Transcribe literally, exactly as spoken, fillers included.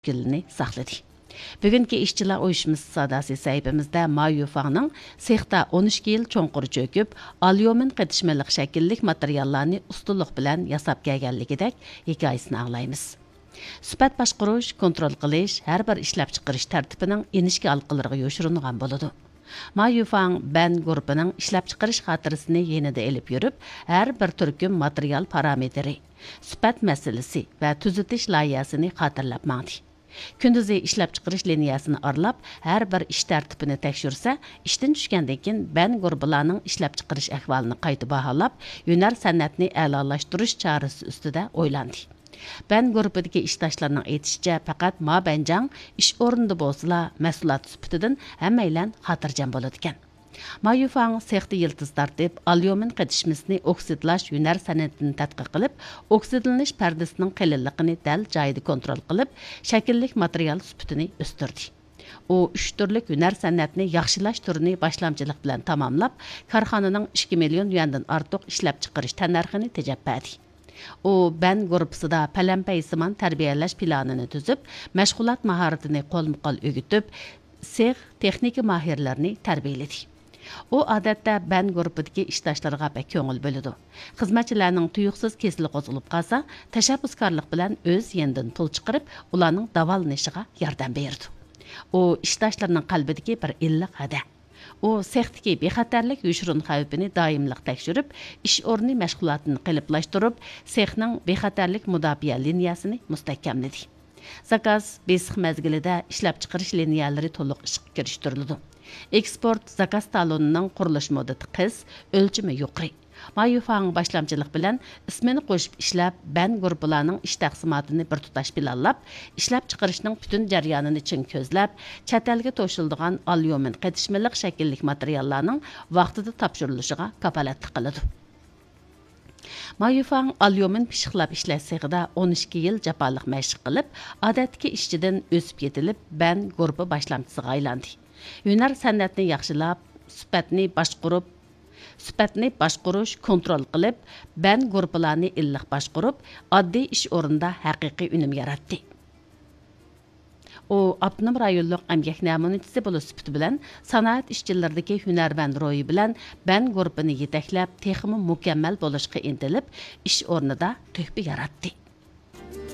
شەكلىنى ساقلىدى. بۈگۈنكى ئىشچىلار ئۇيۇشمىسى ساداسى سەھىپىمىزدە ما يۈفاڭنىڭ سېختا ئون ئىككى يىل چوڭقۇر چۆكۈپ، ئاليۇمىن قېتىشمىلىق شەكىللىك ماتېرىياللارنى ئۇستىلىق بىلەن ياساپ كەلگەنلىكىدەك ھېكايىسىنى ئاڭلايمىز. سۈپەت باشقۇرۇش، كونترول قىلىش ھەر بىر ئىشلەپچىقىرىش تەرتىپىنىڭ ئىنچىكە ھالقىلىرىغا يوشۇرۇنغان بولىدۇ. ما يۈفاڭ بەن گۇرۇپپىنىڭ ئىشلەپچىقىرىش خاتىرىسىنى يېنىدا ئېلىپ يۈرۈپ، ھەر بىر تۈركۈم ماتېرىيال پارامېتىرى، سۈپەت مەسىلىسى ۋە تۈزىتىش لايىھەسىنى خاتىرىلەپ ماڭدى. كۈندۈزى ئىشلەپچىقىرىش لىنىيەسىنى ئارىلاپ، ھەر بىر ئىش تەرتىپىنى تەكشۈرسە، ئىشتىن چۈشكەندىن كېيىن بەن گۇرۇپپىلارنىڭ ئىشلەپچىقىرىش ئەھۋالىنى قايتا باھالاپ، ھۈنەر سەنئەتنى ئەلالاشتۇرۇش چارىسى ئۈستىدە ئويلاندى. بەن گۇرۇپپىدىكى ئىشداشلارنىڭ ئېيتىشىچە، پەقەت ما بەنجاڭ ئىش ئورنىدا بولسىلا، مەھسۇلات سۈپىتىدىن ھەممەيلەن خاتىرجەم بولىدىكەن. ما يۈفاڭ سېختا يىلتىز تارتىپ، ئاليۇمىن قېتىشمىسىنى ئوكسىدلاش ھۈنەر سەنئىتىنى تەتقىق قىلىپ، ئوكسىدلىنىش پەردىسىنىڭ قېلىنلىقىنى دەل جايىدا كونترول قىلىپ، شەكىللىك ماتېرىيال سۈپىتىنى ئۆستۈردى. ئۇ ئۈچ تۈرلۈك ھۈنەر سەنئەتنى ياخشىلاش تۈرىنى باشلامچىلىق بىلەن تاماملاپ، كارخانىنىڭ ئىككى مىليون يۈەندىن ئارتۇق ئىشلەپچىقىرىش تەننەرخىنى تېجەپ بەردى. ئۇ بەن گۇرۇپپىسىدا پەلەمپەيسىمان تەربىيەلەش پىلانىنى تۈزۈپ، مەشغۇلات ماھارىتىنى قولمۇقول ئۆگىتىپ، سېخ تېخنىكا ماھىرلىرىنى تەربىيەلىدى. ئۇ ئادەتتە بەن گۇرۇپپىدىكى ئىشداشلىرىغا بەك كۆڭۈل بۆلىدۇ. خىزمەتچىلەرنىڭ تۇيۇقسىز كېسىلى قوزغىلىپ قالسا، تەشەببۇسكارلىق بىلەن ئۆز يېنىدىن پۇل چىقىرىپ، ئۇلارنىڭ داۋالىنىشىغا ياردەم بېرىدۇ. ئۇ ئىشداشلىرىنىڭ قەلبىدىكى بىر ئىللىق ھەدە. ئۇ سېختىكى بىخەتەرلىك يوشۇرۇن خەۋپىنى دائىملىق تەكشۈرۈپ، ئىش ئورنى مەشغۇلاتىنى قېلىپلاشتۇرۇپ، سېخنىڭ بىخەتەرلىك مۇداپىئە لىنىيەسىنى مۇستەھكەملىدى. زاكاز بېسىق مەزگىلىدە ئىشلەپچىقىرىش لىنىيەلىرى تولۇق ئىشقا كىرىشتۈرۈلىدۇ. ئېكسپورت زاكاز تالونىنىڭ قۇرۇلۇش مۇددىتى قىس، ئۆلچىمى يۇقىرى. ما يۈفاڭ باشلامچىلىق بىلەن ئىسمىنى قوشۇپ ئىشلەپ، بەن گۇرۇپپىلارنىڭ ئىش تەقسىماتىنى بىر تۇتاش پىلانلاپ، ئىشلەپچىقىرىشنىڭ پۈتۈن جەريانىنى چىڭ كۆزلەپ، چەت ئەلگە توشۇلىدىغان ئاليۇمىن قېتىشمىلىق شەكىللىك ماتېرىياللارنىڭ ۋاقتىدا تاپشۇرۇلۇشىغا كاپالەتلىك قىلىدۇ. ما يۈفاڭ ئاليۇمىن پىششىقلاپ ئىشلەش سېخىدا ئون ئىككى يىل جاپالىق مەشىق قىلىپ، ئادەتتىكى ئىشچىدىن ئۆسۈپ يېتىلىپ، بەن گۇرۇپپا باشلامچىسىغا ئايلاندى. ھۈنەر سەنئەتنى ياخشىلاپ، سۈپەتنى باشقۇرۇپ، سۈپەتنى باشقۇرۇش، كونترول قىلىپ، بەن گۇرۇپپىلارنى ئىللىق باشقۇرۇپ، ئاددىي ئىش ئورنىدا ھەقىقىي ئۈنۈم ياراتتى. ئۇ ئاپتونوم رايونلۇق ئەمگەك نەمۇنىچىسى بولۇش سۈپىتى بىلەن، سانائەت ئىشچىلىرىدىكى ھۈنەرۋەن روھى بىلەن بەن گۇرۇپپىنى يېتەكلەپ، تېخىمۇ مۇكەممەل بولۇشقا ئىنتىلىپ، ئىش ئورنىدا تۆھپە ياراتتى.